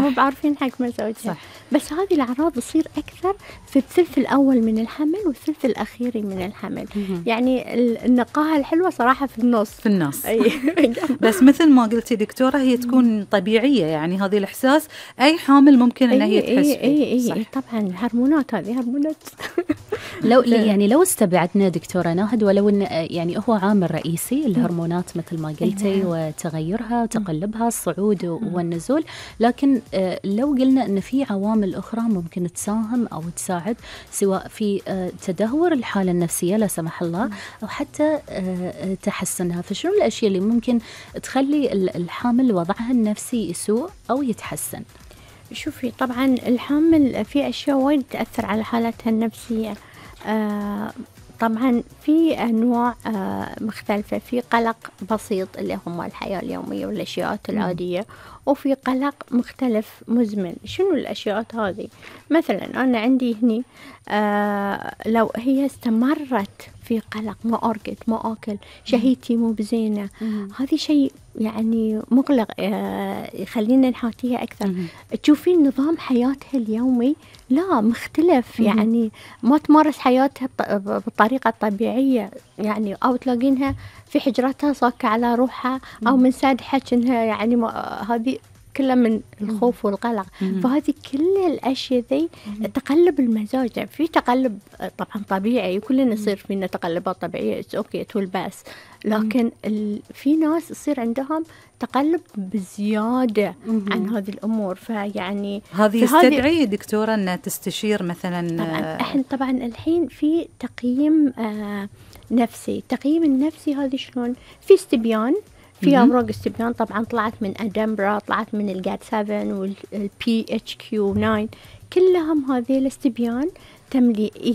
مو بعارفين حق مزاجها. بس هذه الأعراض تصير أكثر في الثلث الأول من الحمل والثلث الأخير من الحمل. يعني النقاهة الحلوة صراحة في النص. بس مثل ما قلتي دكتورة هي تكون طبيعية، يعني هذه الإحساس أي حامل ممكن أن هي تحس فيه. طبعا الهرمونات هذه هرمونات. لو استبعدنا دكتورة ناهد ولو إن يعني هو عامل رئيسي الهرمونات مثل ما قلتي وتغيرها وتقلبها الصعود والنزول، لكن لو قلنا إن في عوامل أخرى ممكن تساهم أو تساعد سواء في تدهور الحالة النفسية لا سمح الله أو حتى تحسنها، فشنو الأشياء اللي ممكن تخلي الحامل وضعها النفسي يسوء أو يتحسن؟ شوفي طبعا الحامل في أشياء وايد تأثر على حالتها النفسية. طبعا في أنواع مختلفة، في قلق بسيط اللي هم الحياة اليومية والأشياء العادية، وفي قلق مختلف مزمن. شنو الأشياء هذه؟ مثلا أنا عندي هني لو هي استمرت في قلق، ما أرقد ما أكل، شهيتي مو بزينة، هذه شيء يعني مقلق يخلينا نحاتيها أكثر. تشوفين نظام حياتها اليومي لا مختلف، يعني ما تمارس حياتها بالطريقة الطبيعية، يعني أو تلاقينها في حجرتها صاكة على روحها أو من سادحة إنها يعني هذه كلها من الخوف والقلق. فهذه كل الأشياء ذي تقلب المزاج. في تقلب طبعا طبيعي، كلنا يصير فينا تقلبات طبيعية، أوكي تول باس، لكن في ناس يصير عندهم تقلب بزيادة عن هذه الأمور. فيعني هذه يستدعي دكتورة أن تستشير مثلا. طبعا احنا طبعا الحين في تقييم نفسي. التقييم النفسي هذه شلون؟ في استبيان، في أوراق استبيان طبعا طلعت من أدنبرا، طلعت من الجات 7 والPHQ-9، كلهم هذه الاستبيان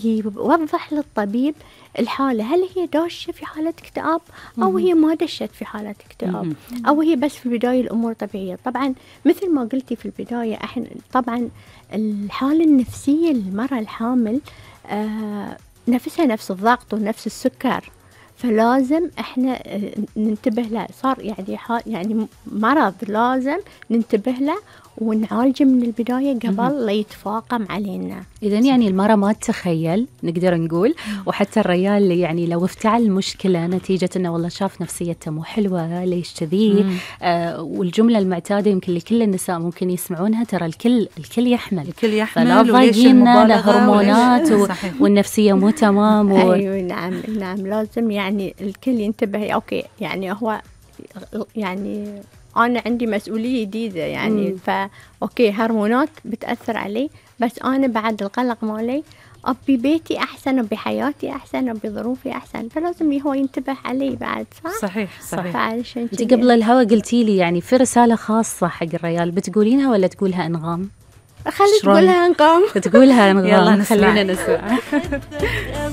يوضح للطبيب الحالة، هل هي داشة في حالة اكتئاب أو هي ما دشت في حالة اكتئاب أو هي بس في البداية الأمور طبيعية. طبعا مثل ما قلتي في البداية احنا طبعا الحالة النفسية للمرأة الحامل نفسها نفس الضغط ونفس السكر، فلازم احنا ننتبه له. صار يعني مرض لازم ننتبه له ونعالجه من البداية قبل لا يتفاقم علينا. إذن يعني المرأة ما تتخيل نقدر نقول، وحتى الرجال اللي يعني لو افتعل مشكلة نتيجة إنه والله شاف نفسيته مو حلوة ليش كذي، والجملة المعتادة يمكن لكل النساء ممكن يسمعونها، ترى الكل يحمل فلا ضايقين له هرمونات والنفسية مو تمام أيوة نعم لازم يعني الكل ينتبه. أوكي يعني هو يعني أنا عندي مسؤولية جديدة يعني أوكي هرمونات بتأثر علي، بس أنا بعد القلق مالي أبي بيتي أحسن، أبي حياتي أحسن، أبي ظروفي أحسن، فلازم هو ينتبه علي بعد. صحيح. أنت قبل الهوا قلتي لي يعني في رسالة خاصة حق الرجال، بتقولينها ولا تقولها أنغام؟ خلي تقولها أنغام. تقولها أنغام. يلا خلينا نسمع.